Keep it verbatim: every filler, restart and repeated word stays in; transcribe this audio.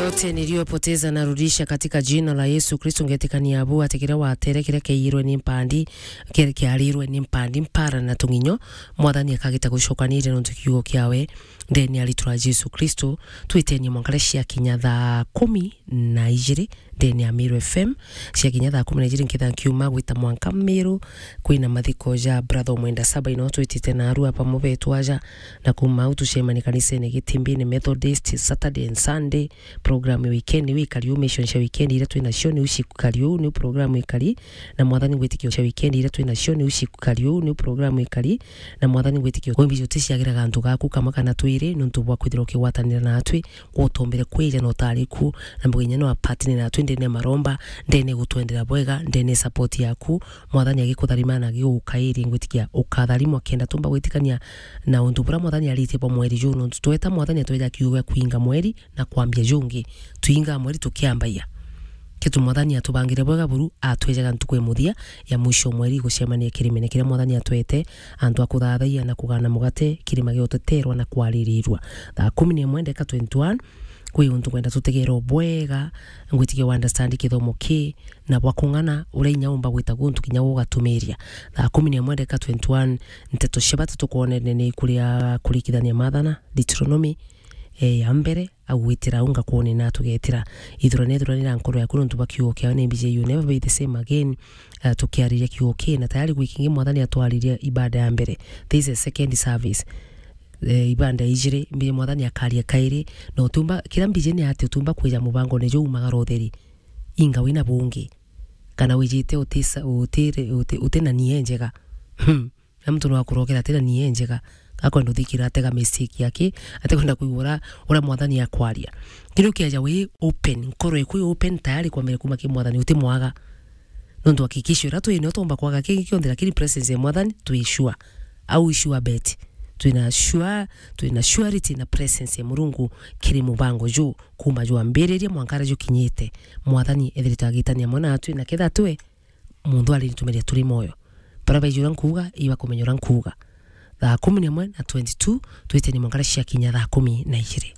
Yote niliyopoteza narudisha katika jina la Yesu Kristo. Ngetikania abu ati kiria watere, kiria kiairwe ni mpandi, kiria kiarirwe ni mpandi, mpara na tung'inyo, Mwathani akagita gucokanire nontu kiugo kiawe. Ndeni ya ritwa ria Jesu Kristo, twitenie mwanka riria ciakinya thaa kumi na ijiri ndeni ya Meru F M, ciakinya thaa kumi na ijiri nkitha nkiuma gwita mwanka Meru, kwina mathiko ja brother Omwenda Saba ino twitite naru apa mubetwa aja, na kuma au tucemani kanisene Gitimbini Methodist Saturday and Sunday. Program ya weekend iu ikari uu, mission cia weekend iria twina cio niu cikari uu, niu program ikari, na Mwathani ngwitikia cia weekend iria twina cio niu cikari uu, niu program ikari, na Mwathani ngwitikia kwimbi juticiagira gantu gaku kamwe kana twiri, nontu bwa kwithirwa ukigwatanira natwi, gutombere kwija na utari ku, na mbuga inya no apatine natwi ndene ya maromba, ndene gutwendera bwega, ndene support yaku, Mwathani agikutharima na agigukairia, ngwitikia ukatharimwa kenda tumba gwitikania na untu buria Mwathani aritie bwa mweri juu, nontu tweta Mwathani atweja kiugo gia kuinga mweri, na kwambia jungi, twingaa mweri tukiambagia. Kitu Mwathani atubangire bwega buru, atwejaga ntuku ya muthia ya mwisho o mweri gucemania kirimene kiria Mwathani atwete, antu a kuthathaia na kugana mugate, kirima gia uteterwa na kwaririrwa. Thaa kumi na imwe ndeka twenty-one, kwi untu ngwenda tutegerwe bwega, ngwitikia wa understand kithomo ki, na bwa kung'ana uria inya umba gwita guntu kinya gugatumiria. Thaa kumi na imwe ndeka twenty-one, nteto cia bata tukwonene ni kuria kurikithania mathana, Deuteronomy, eh, ya mbere, agwitira au ngakwone na tugetira. Ithurane, ithuranira nkoro yaku nontu bwa kiugo kiawe, ni mbiji you never be the same again. Eh, tukiariria kiugo ki na tayari gwikingi Mwathani atwaririe ibada ya mbere. This is a second service. Eh, ibada ijiri, mbiji Mwathani akaria kairi, na utumba, kira mbiji ni ati utumba kwija mubangone juu umagara utheri. Inga wina bungi. Kana wijite utisa-, utire-, uti-, utina nia njega. Hmm. Na muntu no akurokera atina nia njega, akwenda uthikira, atega mistake yake, atekwenda kwigua uria, uria Mwathani akwaria. Kiri ukieja wi open, nkoro iku i open, tayari kwambira kuma ki Mwathani, uti mwaga. Nontu hakikisho iria twinayo twomba kwaga kingi kionthe, lakini presence ya Mwathani twi sure. Au sure bet. Twina sure, twina surety na presence ya Murungu kiri mubango juu, kuma jwambiriria mwanka aria jukinyite. Mwathani ethirite agitania amwe natwi, na ketha twe muntu aritumiria turi moyo. Bara baiji uria nkuuga, ibakumenya uria nkuuga. Thaa kumi na imwe na twenty-two, twiteni mwanka aria ciakinya thaa kumi na ijiri.